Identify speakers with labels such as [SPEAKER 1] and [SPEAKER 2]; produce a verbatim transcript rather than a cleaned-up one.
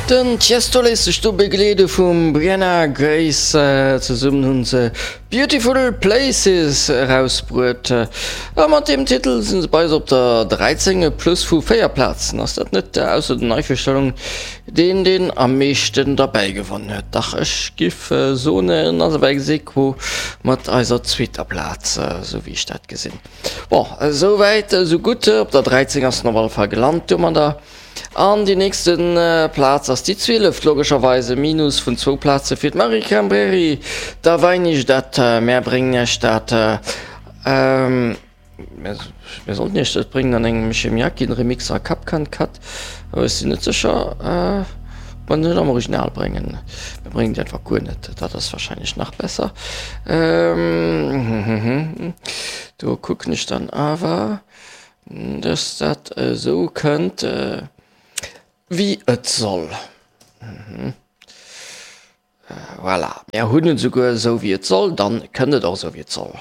[SPEAKER 1] Den Tiesto léisst sech do begleede vum Brianna Grace. Zesummen hunn se Beautiful Places erausbruet a mat deem Titel sinn se bei eis op der dräizéng, e Plus vu véier Plazen. Ass dat net ausser den Neivirstellungen deen, deen am meeschten derbäi gewonnen huet? Dach, ech giff soen, en ass awer ex aequo mat eiser zweeter Plaz, esou wéi ech dat gesinn. Bon, esou wäit esou gutt. Op der dräizéng ass en op alle Fall gelant domadder. An déi nächste Plaz ass déi zwieleft, logescherweis e Minus vun zwou Plaze fir d'Marie Cambreri. Da weinich dat, mär bréngen iech dat, mär sollten iech dat bréngen an engem Chemiakin-Remix a Kapkan Cut, awer ech sinn net sécher, ob mer net am Original bréngen. Mir bréngen déi einfach guer net, dat ass warscheinlech nach besser. Do kucken ech dann awer. Dass dat esou kënnt wéi et soll. Voilà, mir hunn et esouguer esou wéi et soll, dann kënnt et och esou wéi et soll.